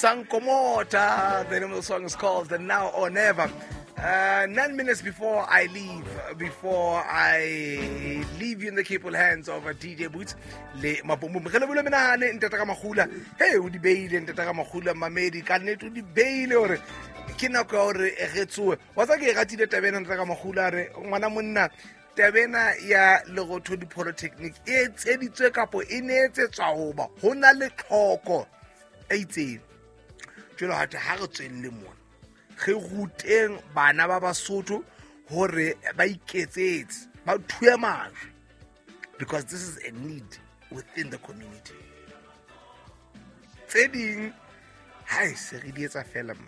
Sankomota. The name of the song is called The Now or Never. 9 minutes before I leave you in the capable hands of DJ Boots le Mabombom. Re lebole menahane ntata ka magula. Hey, o di beile ntata ka magula mamedi ka nnete o di beile hore ke nako ya hore re tsoe. Wa tsa ke e ratile taba ena ntata ka magula re ngwana monna taba ena ya Lerothodi Polytechnic e etseditswe kapo e ne etsetswa hoba ho na le tlhoko e itseng. Jwale hate ha re tswelle mona re ruteng bana ba Basotho hore ba iketsetse, ba thue majwe, because this is a need within the community. Tse ding ha e se re di etsa fela mo,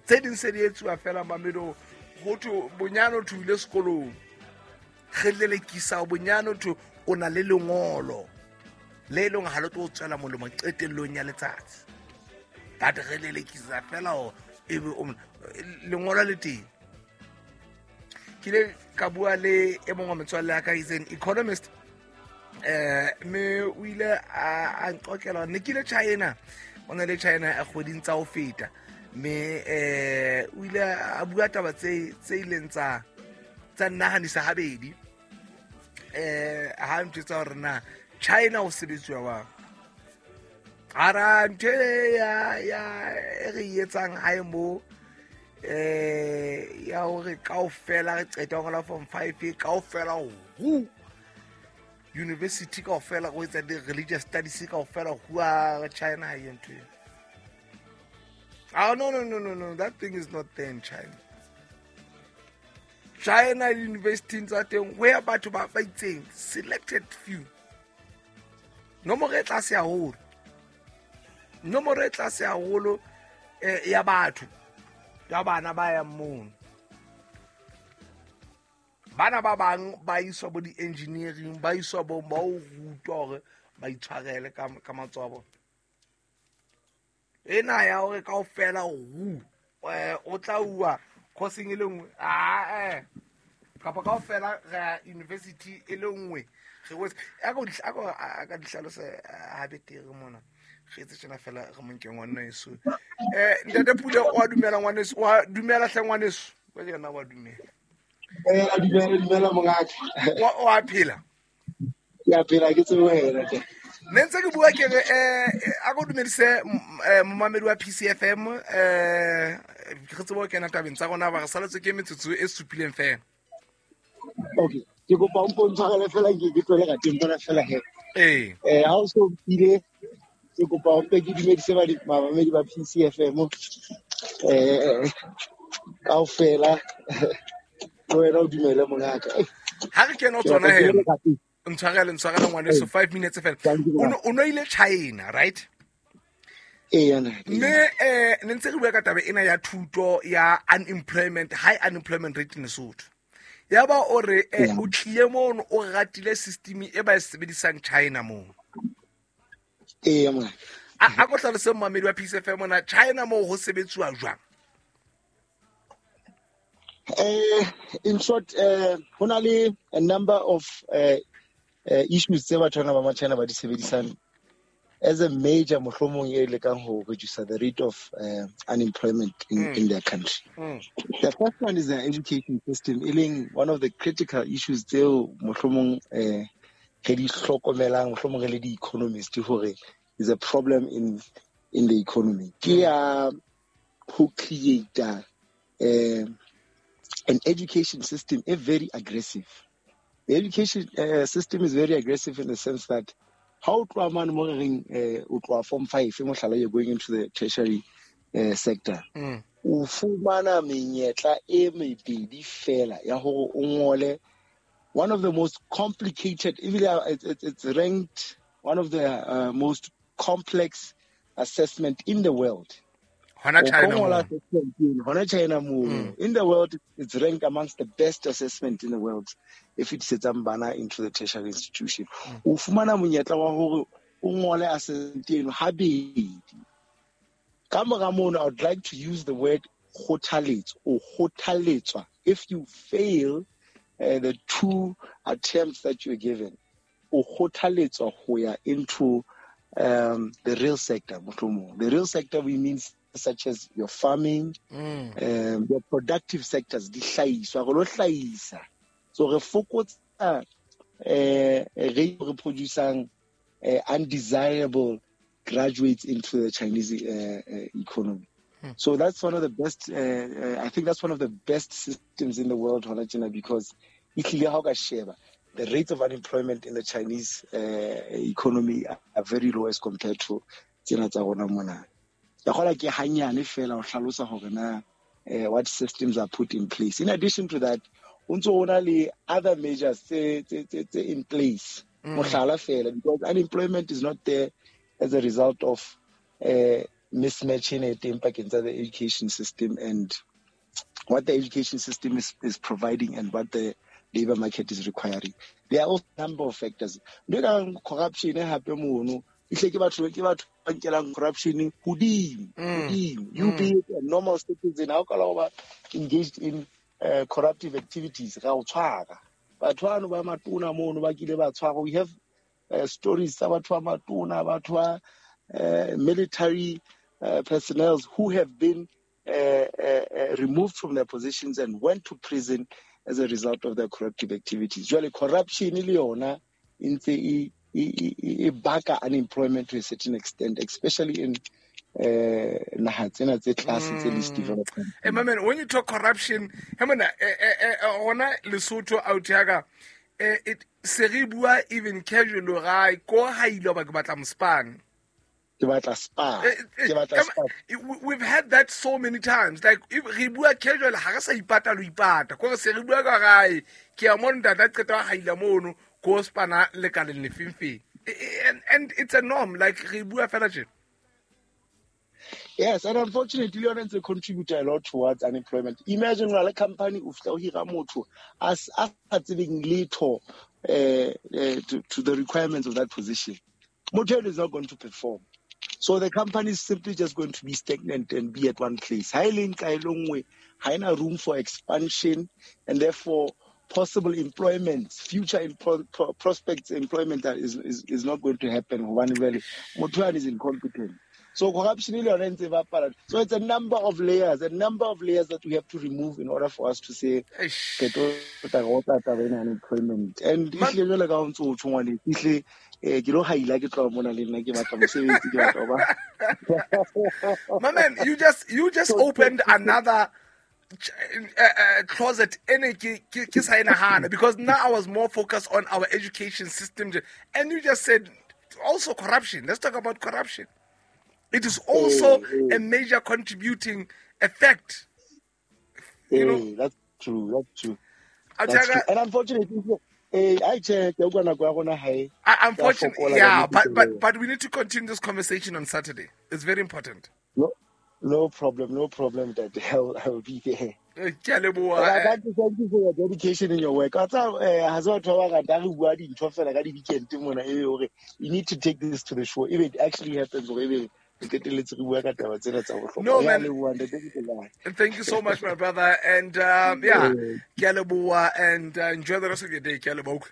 tse ding se di etsuwa fela mamedo ho thwe bonyane o thuile sekolong, re lelekisa bonyane o thwe o na le lengolo le e leng ha le tlo o tswela molemo qetellong ya letsatsi, but re lelekisa fela hore ebe lengolo le teng. Ke ile ka bua le e mongwe wa metswalle ya ka, is an economist, mme o ile a nqokela ne ke ile China, o ne le China a kgweding tsa ho feta, mme o ile a bua taba tse ileng tsa nnahanisa habedi ha ntjwetsa hore na China ho sebetsuwa jwang. Ara ntho e ya e re e etsang hae mo ya hore kaofela re qeta ho ngola form 5, kaofela hu university, kaofela go etsa di-religious studies, kaofela hua China ha e ntho eo. Ah, no, no, no, no, no, that thing is not there in China. China university tsa teng ho ya batho ba itseng, selected few, nomoro e tlase haholo, nomoro e tlase haholo ya batho, ya bana ba yang mono. Bana ba bang ba iswa bo di-engineering, ba iswa bo ba o rutwa hore ba itshwarele ka matsoho a bona. Ena ya hore kaofela hu o tla uwa course-eng e le nngwe, ah kapa kaofela re ya university e le nngwe, re wetse a ka di hlalosa ha betere mona. Re etse tjena fela, re mo nke ngwaneso ntate Pule. Wa dumela ngwaneso? Wa dumela hle ngwaneso? Wa yena wa dumela? Dumela, dumela mongaka. Wa phela? Ke a phela, ke tsebe wena ke. Ne ntse ke bua ke re a ko dumedise momamedi wa PCFM, re tsebe ho kena tabeng tsa rona ba re saletswe ke metsotso e supileng fela. Okay. Ke kopa o mpo ntshwarele fela ke tlole ka teng mona fela he. Ee. Ha o so ile, ke kopa o mpe ke dumedise ba bamamedi ba PCFM kaofela, le wena o dumele mongaka. Ha re kena ho Ke tsona batla ke he le ka teng. Ntshwarele ngwaneso, 5 minutes fela. Thank you. O no ile China, right? Ee, yana. Mme ne ntse re bua ka taba ena ya thuto ya unemployment, high unemployment rate in Lesotho, ya ba o re o tlile mono o ratile system e ba e sebedisang China moo. Ee, mongaka. A ko hlalose momamedi wa PCFM mona, China moo ho sebetsuwa jwang? In short, ho na le a number of issues tse batho bana ba ma-China ba di sebedisang as a major, mohlomong e lekang ho reduce the rate of unemployment in their country. The first one is the education system, e leng one of the critical issues tseo mohlomong re di hlokomelang, mohlomong re le di-economist, hore is a problem in the economy. Ke ya ho create an education system a very aggressive. The education system is very aggressive in the sense that ha o tloha mane mo re reng o tloha form 5, mohlala, you're going into the tertiary sector, o fumana menyetla e mebedi fela ya hore o ngole one of the most complicated, ebile it's ranked one of the most complex assessment in the world. Hona O ka China ngola moo. Assessment eno, hona China moo. In the world, it's ranked amongst the best assessment in the world e fetisetsang bana into the tertiary institution. O fumana monyetla wa hore o ngole assessment eno habedi. Ka mora mono, I would like to use the word kgothaletso. O kgothaletswa, if you fail the two attempts that you're given, o kgothaletswa ho ya into the real sector. The real sector we mean such as your farming, your productive sectors, di hlahiswa, re lo hlahisa. So re fokotsa re producing undesirable graduates into the Chinese economy. So that's one of the best, I think that's one of the best systems in the world, hona tjena, because ehlile ha o ka sheba, the rates of unemployment in the Chinese economy are very low as compared to tsena tsa rona mona. Ka kgola ke hanyane fela ho hlalosa hore na what systems are put in place. In addition to that, o ntso o na le other measures tse in place. Mohlala fela, because unemployment is not there as a result of mismatching e teng pakeng tsa the education system and what the education system is providing and what the labor market is requiring. There are also a number of factors. Ntho e kang corruption hape mono, ehlile ke batho ba nkelang corruption hodimo, hodimo. You be a normal citizen, ha o ka la ho ba engaged in corruptive activities, ra o tshwara. Batho bano ba matona mono ba kile ba tshwarwa. We have stories tsa batho ba matona, batho ba military personnel who have been removed from their positions and went to prison as a result of their corruptive activities. Jwale corruption le yona e ntse e baka unemployment to a certain extent, especially in naha tsena tse tlase tse least developed. Hey, my man, when you talk corruption, hey, man, rona Lesotho out here, it se re bua even casual ra ko ha ile ba ke batla mospan. Ke batla spa. Ke batla spa. We've had that so many times. Like, if re bua casual, ha re sa ipata lo ipata. Ko re se re bua ka gae, ke a mo ntata qeta ha ile mono, ko spana le ka le lefengfeng. And it's a norm, like re bua fela tje. Yes, and unfortunately, yona ntse contribute a lot towards unemployment. Imagine o na le company o fihla o hira motho a sa tsebeng letho to the requirements of that position. Motho eno is not going to perform. So the company is simply just going to be stagnant and be at one place. Ha e le nqa e le nngwe, ha ena room for expansion, and therefore possible employment, future prospects employment that is not going to happen. Hobane jwale motho yane is incompetent. So corruption le yona e ntse e bapala. So it's a number of layers, that we have to remove in order for us to say Eish. re tlo tla re otla taba ena ya unemployment. And ehlile jwale ka ha o ntso o tjho ngwaneso, ehlile, ke lo haila ke tloha mona le nna ke batla mosebetsi, ke batla ho ba. My man, you just opened another closet ene ke sa e nahana, because now I was more focused on our education system, and you just said also corruption. Let's talk about corruption. It is also a major contributing effect. You know? That's true. That's true. I'll That's tell you true. And unfortunately, I check, ke utlwa nako ya rona ha e I, unfortunately, ya fokola ka yeah, nnete jwale. but we need to continue this conversation on Saturday. It's very important. No, no problem, no problem, Dad. I'll be there. Ke a leboha, But thank you for your dedication in your work. Wa tseba, ha se batho ba bangata re bua dintho fela ka di-weekend mona, ebe hore you need to take this to the show. If it actually happens, hore ebe re qetelletse re bua ka taba tsena tsa bohlokwa. No, Re a man. leboha, Ntate Mokoena. Thank you so much, my brother. And yeah, ke a leboha, and enjoy the rest of your day. Ke a leboha.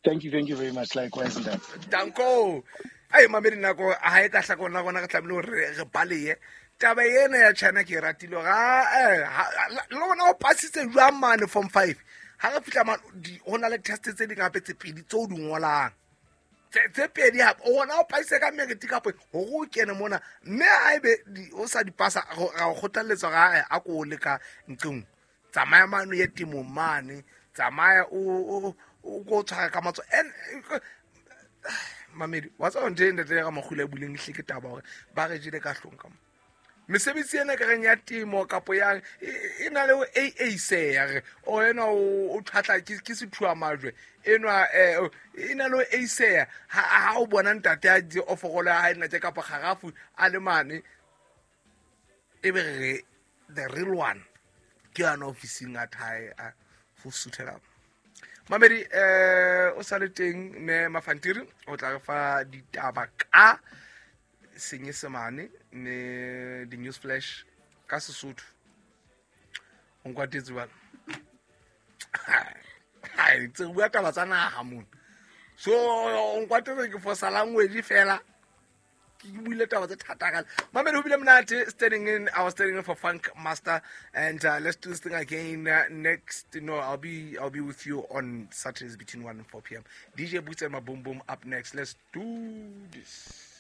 Thank you, thank you very much. Likewise, Ntate. Danko. Ai, mamedi nako ha e ka hlaka rona rona re tlamehile hore re balehe. Taba ena ya China ke e ratile hore, le rona o pasitse jwang mane form 5. Ha re fihla mane, ho na le test tse ding hape tse pedi tseo di ngolang. Tse pedi hape, o bona o pasitse ka merit kapa hore o kene mona, mme ha ebe o sa di pasa, ra o kgothalletsa hore, a ko leka ntlong. Tsamaya mane o ye temong mane, tsamaya o ko tshwara ka matsoho. And mamedi, wa tseba ntho e ntate ya Ramakgula e buleng ehlile ke taba hore ba re jele ka hlong ka mo. Mesebetsi ena ka reng ya temo kapo yang, e na le ho A A se ya re, o enwa o thatla ke sethuwa majwe. Enwa, e na le ho A se ya. Ha o bona ntate a di oforolo ya hae nna tje kapa kgarafu a le mane, e be re the real one ke yana ofising a thae, a ho suthela. Mamedi, o sa le teng mme Mafantiri o tla re fa ditaba ka Senyesemane ne di news flash ka Sesotho. O nkwatetse bana. Hai, tse bua taba tsa naha mona. So o nkwatetse ke fosa language fela. Ke buile taba tse thata kale. Mamedi, ho bile monate standing in. I was standing in for Funk Master, and let's do this thing again next. No, I'll be with you on Saturdays between 1 and 4 p.m. DJ Boots and my Boom Boom up next. Let's do this.